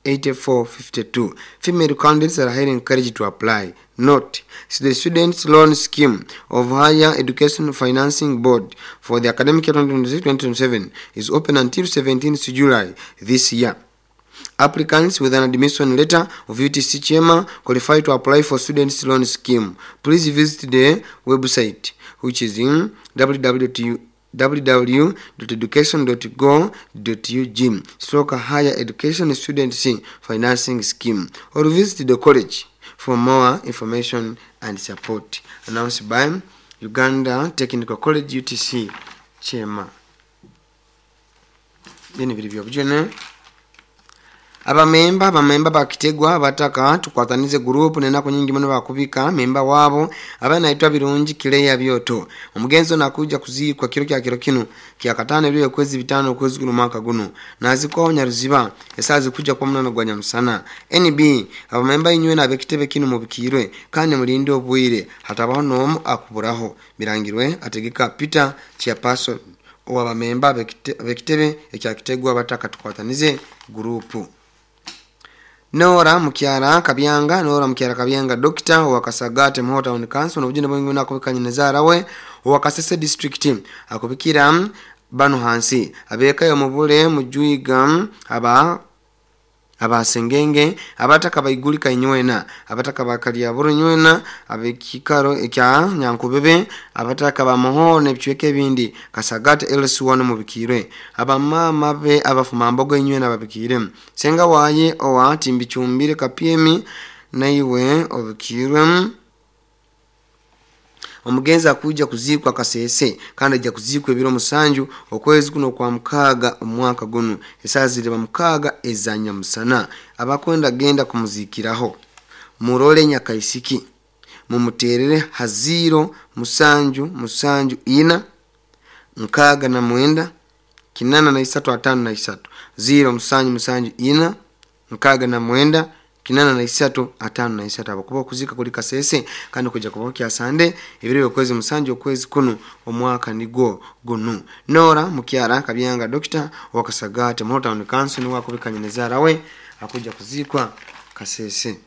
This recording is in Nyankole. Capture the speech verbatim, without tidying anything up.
eighty-four fifty-two. Female candidates are highly encouraged to apply. Note, the Students Loan Scheme of Higher Education Financing Board for the academic year twenty twenty-six twenty twenty-seven is open until seventeenth July this year. Applicants with an admission letter of U T C Kyema qualify to apply for Students Loan Scheme. Please visit the website, which is in w w w dot education dot go dot u g stroke higher education students financing scheme, or visit the college for more information and support. Announced by Uganda Technical College U T C Kyema. Bino biri byobujune. Abamemba abamemba bakitegwa bataka tukwatanize group nenaku nyingi muno bakubika memba wabo abana itwa Birungi Kileya Byoto. Omugenzo nakuja kuzikwa kiro kya kiro kino kya katano ebyo kwezi bitano kwezi guno mwaka guno. Nazikwa Nyaruziba esazi kuja kwa munano gwa Nyamusana. N B abamemba inywe na bekitebe kino mubikirwe kandi mulinde obwire hatabaho nomu akuburaho. Birangirwe ategeka Peter Chiapaso owabamemba bekitebe ekyakitegwa bataka tukwatanize group. Nora Mukyara Kabyanga, Nora Mukyara Kabyanga Doctor wa Kasagate Muho Town Council n'obujune bwingi nakubikanye nezarawe wa Kasese District akubikira bano hansi abeka yo mubule mujuiga aba abasengenge abataka baigulika inywena abataka bakalya buru nywena abekikaro ekya Nyankubebe abataka bamuho nebichweke bindi Kasagate L C one mubikire abamama be abafuma mbogo inywena babikire senga waye owa timbichumbire kapiemi naiwe obikirwe. Omugenzi akuja kuzikwa Kasese kandi ajja kuzikwa ebiro musanju okwezi kuno kwa mukaaga omwaka guno esazi ziriba mukaaga ezanya musana. Abakwenda genda kumuzikiraho murole Nyakaisiki mumuterere haziro musanju musanju ina nkaaga na mwenda kinana na isatu atano na isatu ziro musanju musanju ina nkaaga na mwenda kinana na isatu atano na isatu. Abakuba kuzika kuli Kasese kandi kuja kubokya Sande ebiro okwezi musanju okwezi kuno omwaka nigo gunu. Nora Mukyara Kabyanga Doctor wa Kasagate Muho Town Council ni wakubikanye nezarawe akuja kuzikwa Kasese.